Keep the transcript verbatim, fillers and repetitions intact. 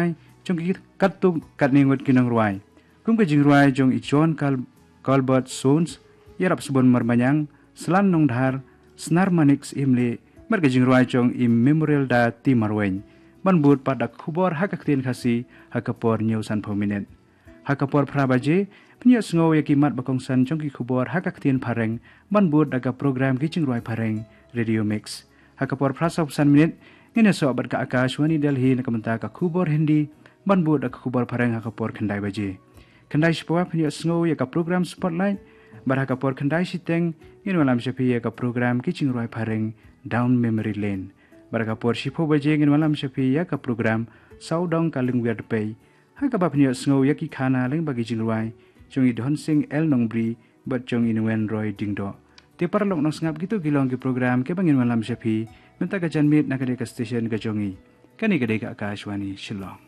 jong ki katto katne ngut ki nongrwai, kum ka jingrwai jong i John Col- Colbert Sones, Ïarap Sbun Marmanyang, Slan Nongdhar, Snar Manik Imli, bad ka jingrwai jong i Memorial Da T Marwein. Ban bud pat da ka khubor ha ka ktien Khasi ha ka por hynñiew sanphew minit. Ha ka por phra baje phin ïoh sngew ïa ki mat ba kongsan jong ki khubor ha ka ktien Phareng, ban bud da ka program ki jingrwai Phareng, Radio Mix. Ha ka por phra sawphew san minit ngin ïasoh bad ka Akashvani Delhi na ka bynta ka khubor Hindi, ban bud da ka khubor Phareng ha ka por khyndai baje. Khyndai shiphew phin ïoh sngew ïa ka program Spotlight, bad ha ka por khyndai shiteng ngin wallam sha phi ïa ka program ki jingrwai Phareng, Down Memory Lane. Bad ha ka por shiphew baje ngin wallam sha phi ïa ka program Sawdong Ka Lyngwiar Dpei, ha kaba phin ïoh sngew ïa ki khana lyngba ki jingrwai jong i Dhonsing L Nongbri bad jong i Nongwen Roy Diengdoh. Te paralok nongsngap, kito ki long ki program kiba ngin wallam sha phi mynta ka janmiet na ka dei ka station ka jong i. Kane ka dei ka Akashvani Shillong.